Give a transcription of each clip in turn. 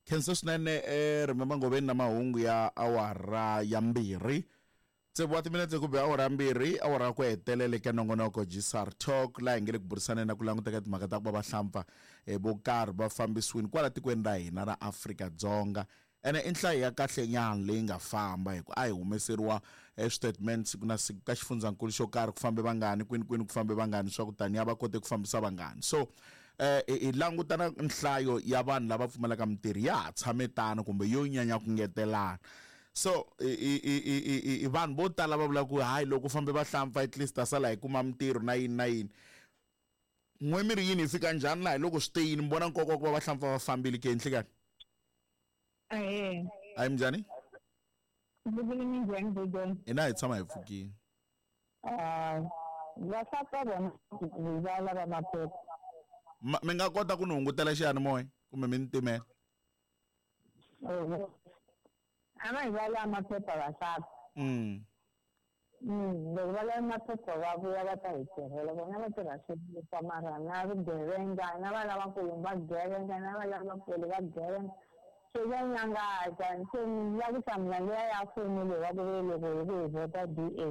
Khensa swinene eh remember ngoveni na mahungu ya awara ya 2. Tsevu wa timinetse ku be awara ya 2, awara ya ku hetelela eka nongonoko GSR Talk laha hi nge le ku burisaneni na ku languta ka timhaka ta ku va vahlampfa eh, vo karhi va fambisiwini kwala tikweni ra hina ra Afrika-Dzonga. Ene i nhlayo ya kahle nyana leyi nga famba hi ku a hi humeseriwa eh, switatimende siku na siku ka xifundzankulu xo karhi ku fambe vangani kwini kwini ku fambe vangani swa ku taniya va kote ku fambisa vangani. So eh hi languta na nhlayo ya vanhu lava pfumalaka mintirho ya ha tshame tano kumbe yo nyanya ku ngetelana. So i vanhu vo tala va vula ku hayi loko fambe vahlampfa at least ta sala hi kuma mintirho na yini na yini. N'we mi ri yini hi fika njhani laha hi loko swi te yini mi vona nkoka wa ku va vahlampfa va fambile ke nhlikani? Ahee. Hayi minjhani? Ndzi minjhani Budan? Hina hi tshama hi pfukile. Ah, vahlampfa vona va lava maphepha. Mi nga kota ku ni hungutela xiyanimoya kumbe mi ni timela? A va hi va lava maphepha vahlampfa. Loko va lava maphepha va vuya va ta hi tirhela vona va tirha swilo mara na vugevenga na va lavakulu va gevenga na va lavakulu va gevenga se va nyangaza se ni la ku hlamula liya ya mfumo leyi wa ku ve loko hi ku hi vhota D_A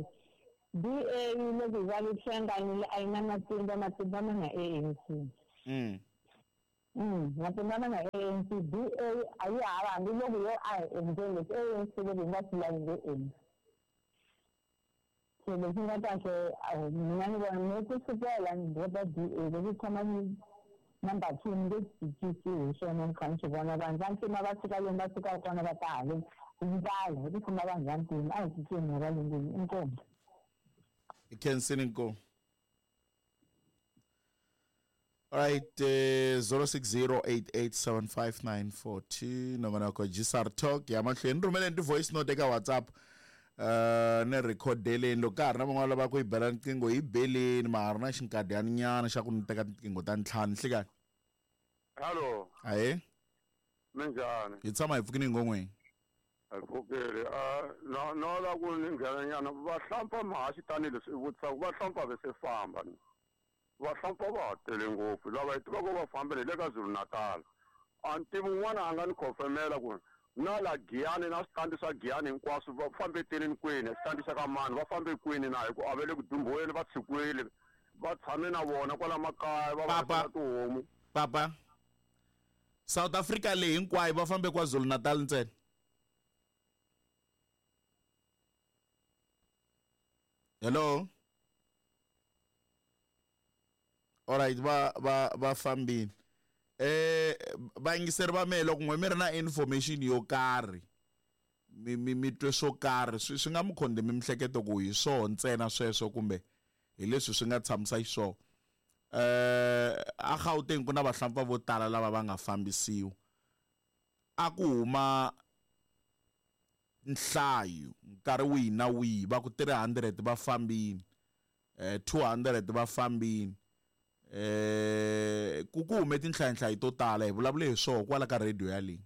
D_A loko hi va hlanganile a yi na matimba matimba ma na A_N_C. Matimba ma na A_N_C D_A a yi hava hambiloko yo a hi endleni leswi A_N_C loko hi nga swi lavi nge endli. Se lexi nga kahle mina ni vona ni ku sukela ni vhota D_A loko yi khoma number 2 ni nge cinci hi swona ni kha ni swi vona vanhu va ntima va suka lomu va sukaka kona va ta haleni hi ndlala hi ku fuma vanhu va ntima a hi cinceni hi valungwini inkomu. Hi khensile inkomu. Alright, 0608875942 nongonoko GSR Talk ya mahlweni rhumeleni ti-voice note eka WhatsApp ni rhikhodeleni loko ka ha ri na van'wana lava ku yi bela riqingho yi beleni ma ha ri na xinkadyana nyana xa ku ni teka tiqingho ta ntlhanu nhlikani. Hello. Ahee. Minjhani? Hi tshama hi pfukini ngongweni. Hi pfukile. No no la ku ni nghena nyana vahlampfa mahaxi tanihileswi i vutisaka vahlampfa ve se famba ni. Vahlampfa va ha tele ngopfu lava hi tivaka va fambile hi le ka Zulu Natal. A ni tivi un'wana a nga ni khofemela ku na la Giyani na switandi swa Giyani hinkwaswo va fambe teleni kwini xitandi xa ka mani va fambe kwini na hi ku a va le ku dumbiweni va tshikiwile va tshame na vona kwala makaya va va tihomu. Papa South Africa leyi hinkwayo va fambe KwaZulu Natal ntsena. Hello. Alright va va va fambile. Eh vayingiseri va mehe loko n'we mi ri na information yo karhi mi mi mi twe swo karhi swi swi nga mi khondemi mihleketo ku hi swoho ntsena sweswo kumbe hi leswi swi nga tshamisa xiswona. Eh a Gauteng ku na vahlampfa vo tala lava va nga fambisiwa. A ku huma nhlayo nkarhi wihi na wihi va ku 300 va fambini eh 200 va fambini eh ku ku hume tinhlayanhlayo to tala hi vulavule hi swoho kwala ka radio yaleyi.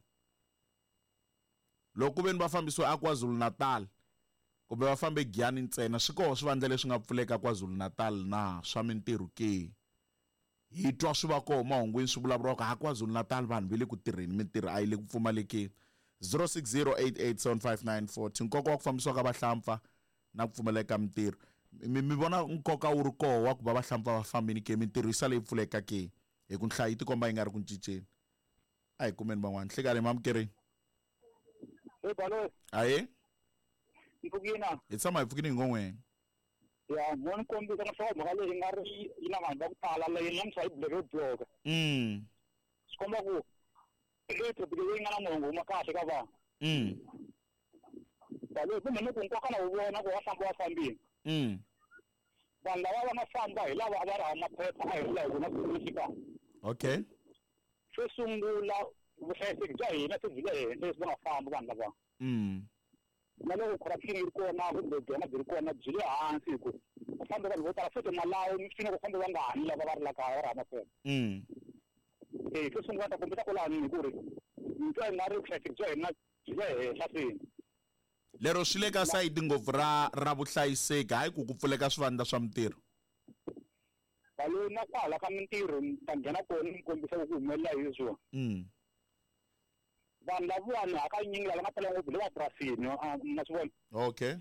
Loko ku ve ni va fambisiwe a KwaZulu-Natal kumbe va fambe Giyani ntsena swi koho swivandla leswi nga pfuleka KwaZulu-Natal na swa mintirho ke? Hi twa swi va koho mahungwini swi vulavuriwa ku ha KwaZulu-Natal vanhu va le ku tirheni mintirho a yi le ku pfumalekeni. 0608875940 nkoka wa ku fambisiwa ka vahlampfa na ku pfumaleka ka mintirho. Mi mi vona nkoka wu ri koho wa ku va vahlampfa va fambini ke mintirho yi sale yi pfuleka ke? Hi ku nhlayo yi tikomba yi nga ri ku cinceni. A hi kumeni van'wana. Nhlikani mamukerini. Hey Balo. Ahee. Mpfukina. Hi tshama hi pfukini hi ngon'weni. Ya, mo ni kombisa na swa mhaka leyi nga ri yi na vanhu va ku tala leyi namuntlha yi buleke bloka. Swi komba ku leyi topic leyi nga na mongo huma kahle ka vanhu. Balo kumbe ni ku nkoka na wu vona ku va famba va fambile. Vanhu lava va nga famba hi lava a va ri hava maphepha a hi ri laha vona ku fika. Okay. Xo sungula vuhlayiseki bya hina se byi le henhla leswi va nga famba vanhu lava. Na loko corruption yi ri kona kumbe byona byi ri kona byi le hansi hi ku ku fambe vanhu vo tala futhi Malawi mi swi ku fambe vangani lava va ri la kaya va ri hava maphepha. Eh xo sungula ta kombisa kwalano hi ku ri ni twa i nga ri vuhlayiseki bya hina byi le henhla swinene. Lero swi le ka sayiti ngopfu ra ra vuhlayiseki hayi ku ku pfuleka swivandla swa mintirho. Balo na kwala ka mintirho ni ta nghena kona ni kombisa ku humelela hi leswiwa. Vanhu lavawani hakanyingi lava nga tala ngopfu le mapurasini ma swi vona. Okay.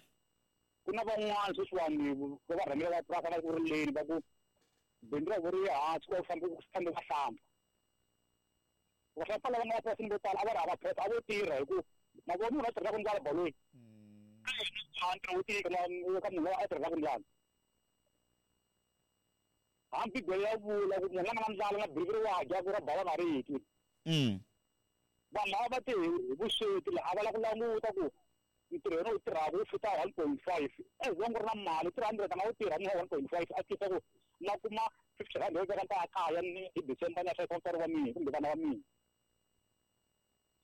Ku na van'wana sweswiwani va va rhangela va purasi va ku rileni va ku bindzu ra vo ri hansi ku fambe ku fambe vahlampfa. Vahlampfa lava nga mapurasini vo tala a va ri hava phepha a vo tirha hi ku ma vona munhu a tirhelaka ndlala baloyi. A ntirho wo tika na ka munhu loyi a tirhelaka ndlala. Hambi Bibele ya vula ku munhu la nga na ndlala na biriviri wa dya ku ra bava nga ri twi. Vanhu lava va te hi vusweti la a va lava ku languta ku ntirho yena wu tirhaka wu fita 1.5 as long ku ri na mali 300 a nga wu tirha munhu wa 1.5 a tisa ku na kuma 50 rand yo veka nta kaya ni hi December ni ya hlayisa vatswari va mina kumbe vana va mina.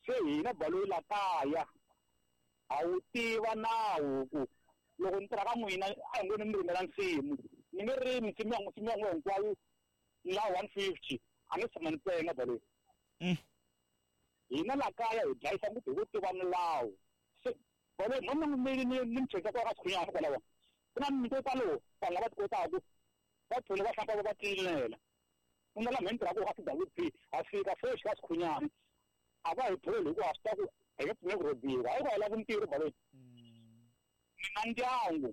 Se hina baloyi la kaya ha wu tiva nawu ku loko ni tirha ka n'wina a hi ngo ni mi rimela nsimu ni nge rimi nsimu ya nsimu ya n'wina hinkwayo la 150 a ni tshama ni penga baloyi. Hina la kaya hi dlayisa ngopfu hi ku tiva milawu. Se baloyi mhani ni ni ni mi cheka ka Sikhunyana kwalaho ku na mimiti yo talo vanhu lava ti kotaka va thole va hlamba va va tlilinela. Ku na laha mi tirhaka ka CWP ha fika fresh ka Sikhunyana a va hi tholi hikuva ha swi tiva ku hi nge pfumeli ku rhobiwa hayi ku a hi lavi mintirho baloyi. Ni na ndyangu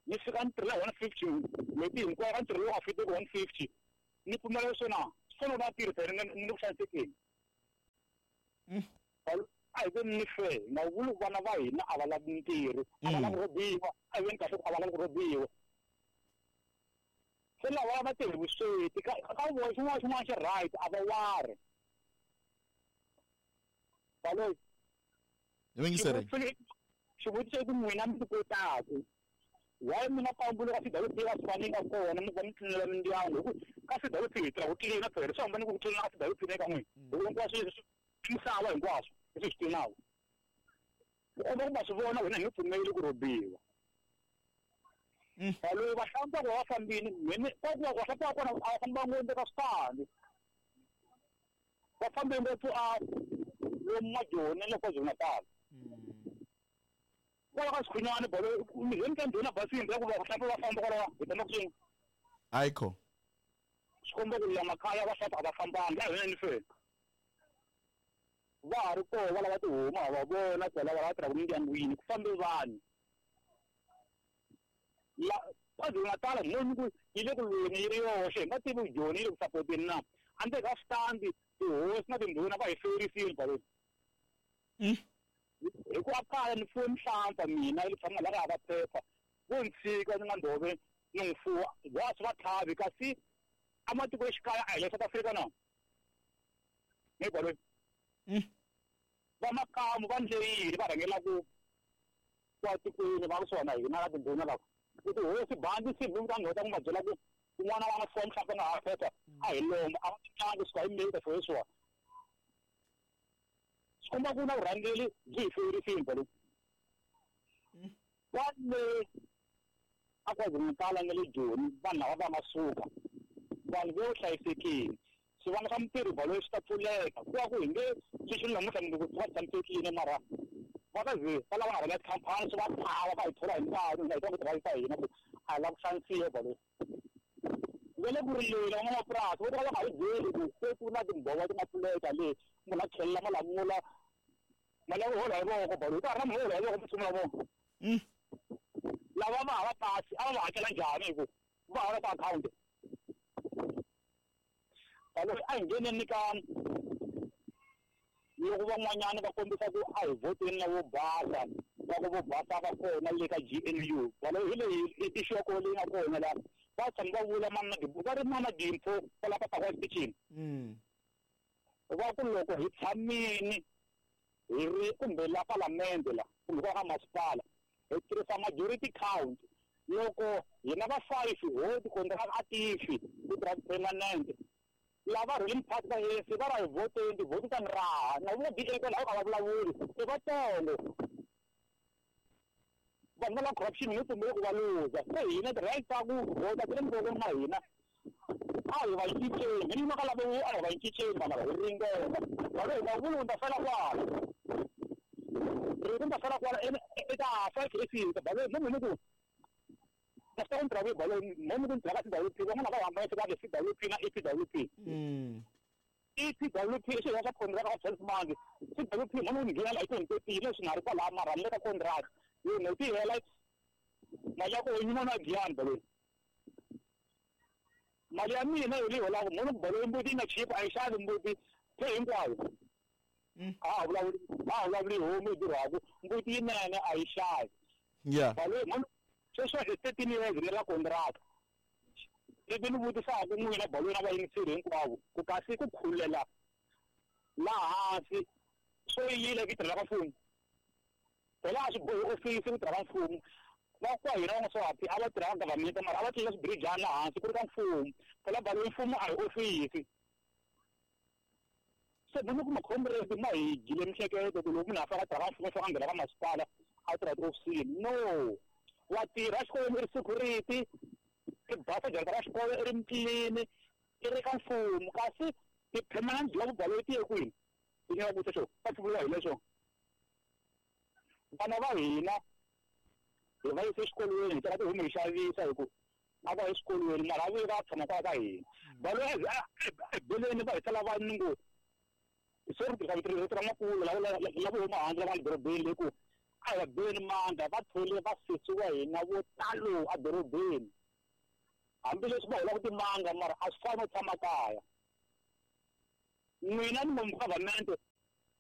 ni fika ni tirhela 150 n'hweti hinkwayo ka ntirho lowu nga fiteki 150 ni pfumela leswo na swi fanele va tirhi phela ni le ku xanisekeni. A hi veni ni fair hi nga vuli ku vana va hina a va lavi mintirho a va lavi ku rhobiwa a hi veni kahle ku a va lavi ku rhobiwa. Se lava va tirhi vusweti ka ka vona xin'wana na xin'wana xi right a va wari. Baloyi. Yingiseri. Xivutiso i ku n'wina mi ti kotaku why mi nga pambuli ka CWP ka swi nga kona mi va mi tlilinela mindyangu hi ku ka CWP hi tirha ku tlilina phela swi hambane ku tlilina ka CWP na ka n'wina hi ku hinkwaswo leswi misava hinkwaswo leswi swi tlinaka ku komba ku ma swi vona wena hi nge pfumeli ku rhobiwa. Baloyi vahlampfa ku va va fambile mheni ka ku vahlampfa va kona a va fambanga ngopfu ka switandi va fambe ngopfu a lomu Majoni na le KwaZulu-Natal. Kwala ka Sikhunyana baloyi mi ze mi ta ndhuna basini ra ku vahlampfa va famba kwalaho hi tama ku swin'we. Ayikho. Swi komba ku la makaya vahlampfa a va fambanga a hi veni feni. Va ha ri koho va lava tihomu ha va vona kwala va lava tirhaka mindyangwini ku fambe vanhu. La KwaZulu-Natal moni ku yi le ku lweni yi ri yoxe hi nga tivi ku Joni yi le ku sapoteni na a ndzeni ka switandi tihosi na tindhuna va hi ferisile baloyi. Hi ku a kaya ni fuwe mihlampfa mina yi tshama la ka hava phepha vo ni tshika ni nga ndhove ni n'wi fuwa wa swi va tlhavi kasi a matikoxikaya a hi le South Africa na ni baloyi. Va makamu va ndleyile va rhangela ku kwa tikweni va kusuhana hina ka tindhuna lava ku tihosi bandi sivulu ka nhota ku ma byela ku un'wana wa nga fuwa mihlampfa nga ha phepha a hi lomba a va tlangi kusuka hi May ta sweswiwa. Swi komba ku na vurhangeri byi hi ferisile baloyi. Kwale a KwaZulu-Natal na le Joni vanhu lava va nga suka vanhu vo hlayisekile swivandla swa mintirho baloyi swi ta pfuleka ku va ku hi nge sweswi namuntlha mundzuku swi va tshamisekile mara va ta ze va lava nga rhangela tikhampani swi va tlhava va hi thola hi nkarhi hina hi ta ku tirhisa hina ku a hi lava ku xanisiwa baloyi. Va le ku rileni van'wamapurasi vo tala va nga hi byeli ku se ku na timbhova ti nga pfuleka le munhu a chelela malamula mali ya ku hola hi voko baloyi ka ha ri na munhu wo hola hi voko mutshumi wa vona. Lava va hava pasi a va va hakela njhani hi ku va hava ka akhawunti. Baloyi a hi ngheneni ka loko van'wanyana va kombisa ku a hi vhoteni na vo basa va ku vo basa va kona le ka GNU baloyi hi leyi issue ya kona leyi nga kona la va tshama va vula mani na va ri mana Dimpho kwala ka Pakwa exitichini. Va ku loko hi tshamini hi ri kumbe la palamende la kumbe kwa ka masipala hi tirhisa majority count loko hina va 5 ho tikontraka a tifi ku tirha permanent lava ruling party va ANC va ra hi vhoteni tivhoti ta ni raha na vona DA kwalaho ka va vulavuli i vatsongo vanhu va la corruption hi nge pfumeli ku va luza se hina ti-right ta ku vhota ti le mavokweni ma hina a hi va cinceni hi yima ka lavo a hi va cinceni vanhu lava hi ringeta baloyi nga vuli ku ni ta fela kwala rito ni ta fela kwala eka 5 e fika baloyi mo ni ku na swi ta ku ni tirha kwihi baloyi mo ni ku ni tirha ka CWP van'wana va hambanisa ka CWP na EPWP. EPWP i xirho xa contract ka 12 months CWP munhu nghena hi 2013 leswi nga ri kwalaho mara ni le ka contract yo n'hweti yi hela mali ya koho yi na giyani baloyi mali ya mina yo leyi holaka munhu baloyi mbuti yi nga chipa a yi xavi mbuti se hinkwayo a ha vulavuli homu yi durhaku mbuti yinene a yi xavi baloyi munhu sweswi i 13 years ni la contract ivi ni vutisaka n'wina baloyi na vayingiseri hinkwavo ku kasi ku khulela laha hansi swo yile ku tirhela ka mfumo phela a swi bohi ofisi ku tirha ka mfumo va kwa hina van'waswapi a va tirha ka government mara a va tlela swibirijana laha hansi ku ri ka mfumo phela baloyi mfumo a hi ofisi se munhu kuma comrade ma hi gile mihleketo ku loko munhu a faka a tirha ka mfumo faka nghena ka masipala a tirha tiofisini no wa tirha xikolweni i ri security i basa jarata ra xikolo i ri mutlilini i ri ka mfumo kasi ti-permanent job baloyi ti ye kwini ti nyika vutisa xo va pfumeleriwa hi leswo vana va hina hi va yise exikolweni hi teka tihomu hi xavisa hi ku a va exikolweni mara a vuye va tshama kwala ka hina baloyi ebeleni va hi sala va ni ngo sorry tirhisa rito ra makulu lava huma handle lava nga le dorobeni le ku a hi va beni mandla va thole va sesi wa hina vo talo edorobeni hambileswi va holaka timanga mara a swi fani no tshama kaya n'wina ni munhu government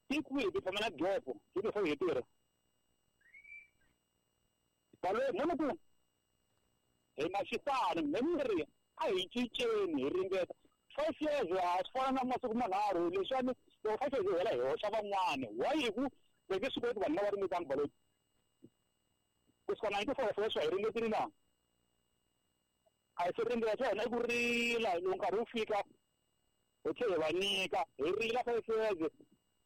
ti kwihi ti-permanent job hi ti hi tirha baloyi munhu ku hi na xifani me ni ri a hi cinceni hi ringeta 5 years a swi fana na masiku manharhu leswiwani loko 5 years yi hela hi hoxa van'wani why hi ku va nge swi koti vanhu lava ringetanga baloyi kusuka 94 sweswi hi ringetile na a hi se ringeta swa hina i ku rila loko nkarhi wu fika hi tlhe hi va nyika hi rila 5 years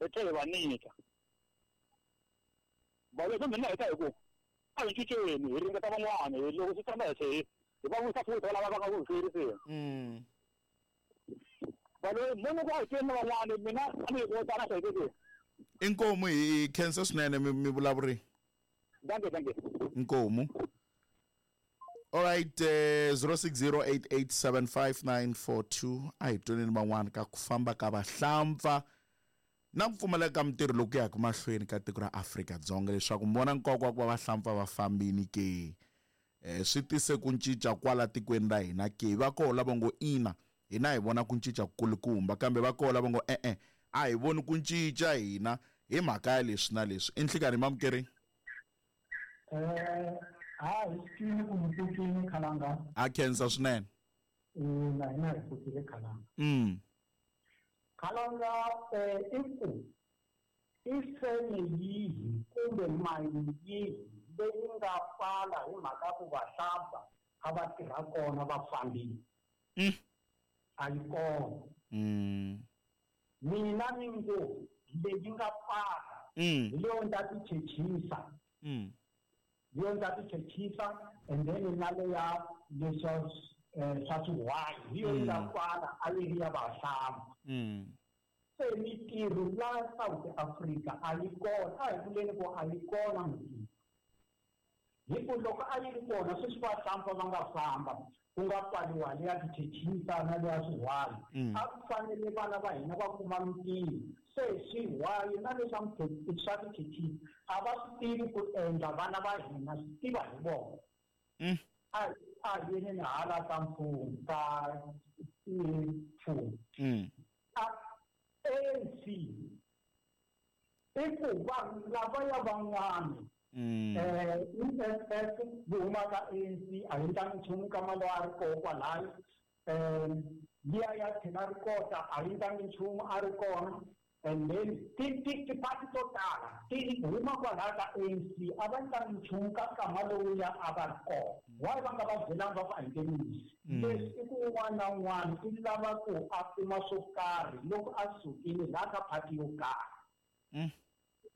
hi tlhe hi va nyika baloyi mina heta hi ku a hi cinceni hi ringeta van'wani loko swi famba hi tlhe hi va vuyisa futhi lava va nga ku hi feriseni baloyi munhu ku a hi ceni van'wani mina a ni yi tana hlayisekile inkomu hi khensa swinene mi vulavuri danke danke inkomu all right 0608875942 a hi twaneni van'wana ka ku famba ka vahlampfa na ku pfumaleka ka mintirho loku yaka mahlweni ka tiko ra Afrika-Dzonga leswaku mi vona nkoka wa ku va vahlampfa va fambini ke swi tise ku cinca kwala tikweni ra hina ke va koho lava ngo ina hina hi vona ku cinca kulukumba kambe va koho lava ngo e-e a hi voni ku cinca hina hi mhaka ya leswi na leswi i nhlikani mamukeri ha hi swi ku mi pfukile khalanga a khensa swinene na hina hi pfukile khalanga khalanga i ku i feme yihi kumbe mayini yihi leyi nga pfala hi mhaka ku vahlampfa a va tirha kona va fambile a yi kona mina ni ngo leyi nga pfala hi leyo ni ta ti chechisa leyo ni ta ti chechisa and then na leya leswa swa swihwayi hi yo yi nga pfala a yi ri ya vahlampfa se mintirho la South Africa a yi kona a hi vuleni ku a yi kona mintirho hi ku loko a yi ri kona sweswi vahlampfa va nga famba ku nga pfaliwa leya tichechisa na leya swihwayi a ku fanele vana va hina va kuma mintirho se swihwayi na leswa swa tichechisa a va swi tivi ku endla vana va hina swi tiva hi vona a yini ni hala ka mfumo ka mfumo ANC i ku vanhu lavaya van'wana EFF yi huma ka ANC a yi ndlangi nchumu ka mali a ri koho kwalayo liya ya tlhela ri kota a yi ndlangi nchumu a ri kona and then tipati to tala ti huma kwalaya ka ANC a va ndlangi nchumu ka nkama lowuya a va ri kona why va nga va byelanga va ku a hi nge misi leswi i ku un'wana na un'wana i lava ku a kuma swo karhi loko a sukile laha ka phati yo karhi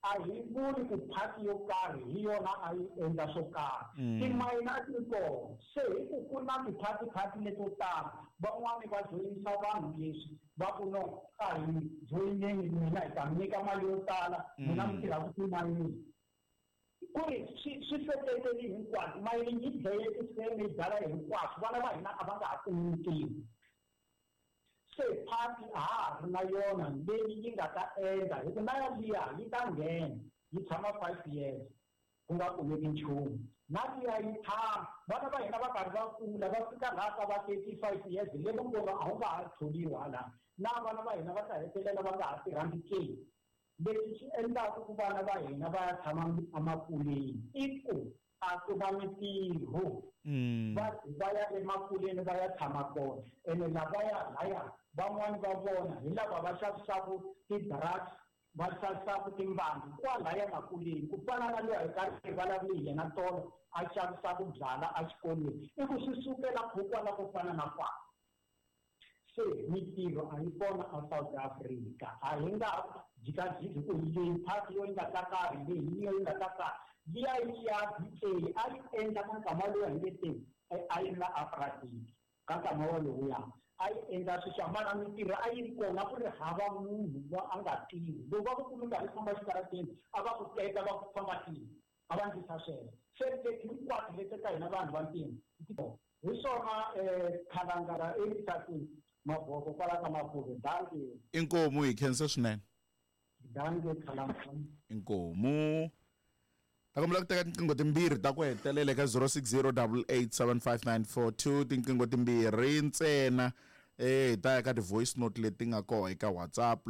a hi vuli ku phati yo karhi hi yona a yi endla swo karhi timayini a ti ri kona se hi ku ku na tiphati-phati leto tala van'wani va joyinisa vanhu leswi va ku no a hi joyineni n'wina hi ta mi nyika mali yo tala n'wina mi tirhaka timayini ku ri swi hlohleteli hinkwaswo mayini yi dlaye tifeme yi dlala hinkwaswo vana va hina a va nga ha kumi mintirho Se party a ha ha ri na yona leyi yi nga ta endla hi ku na yaliya yi ta nghena yi tshama 5 years ku nga kumeki nchumu, na liya yi tshama vana va hina va karhi va kula, va fika laha ka va 35 years le vongolo a wu nga ha tholiwi hala, na vana va hina va ta hetelela va nga ha tirhangi ke. Leswi swi endlaku ku vana va hina va ya tshama emakuleni i ku a ku na mitirho. Va ya emakuleni va ya tshama kona, ene lavaya laya van'wani va vona hi lava va xavisaku ti-drugs, va xavisaku timbangi kwalaya makuleni, ku fana na luya hi karhi hi vulavule hi yena tolo a xavisaku byala exikolweni, i ku swi sukela khokwala ku fana na kwala. Se mitirho a yi kona a South Africa. A hi nga jikajiki ku leyi party yo yi nga ta karhi, leyi yo yi nga ta karhi, liya yi ya BA a yi endla ka nkama lowu hi nge te a yi ri na apartheid, ka nkama walowuya a yi endla sweswo, mara mitirho a yi ri kona, ku ri hava munhu wa a nga tirhi. Loko va ku kumi karhi famba xitarateni, a va ku teka va ku famba tirhi, a va ndlisa sweswo. Se leti hinkwato leti ta hina vanhu vantima hi swona. Khalangala emisakeni maboko kwala ka Mapuve, danke. Inkomu, hi khensa swinene. Danke, Khalangala. Inkomu. Ta kombela ku teka tinqingho timbirhi ta ku hetelela eka 060 8875942, tinqingho timbirhi ntsena. Hi ta ya ka ti-voice note leti nga kona eka WhatsApp.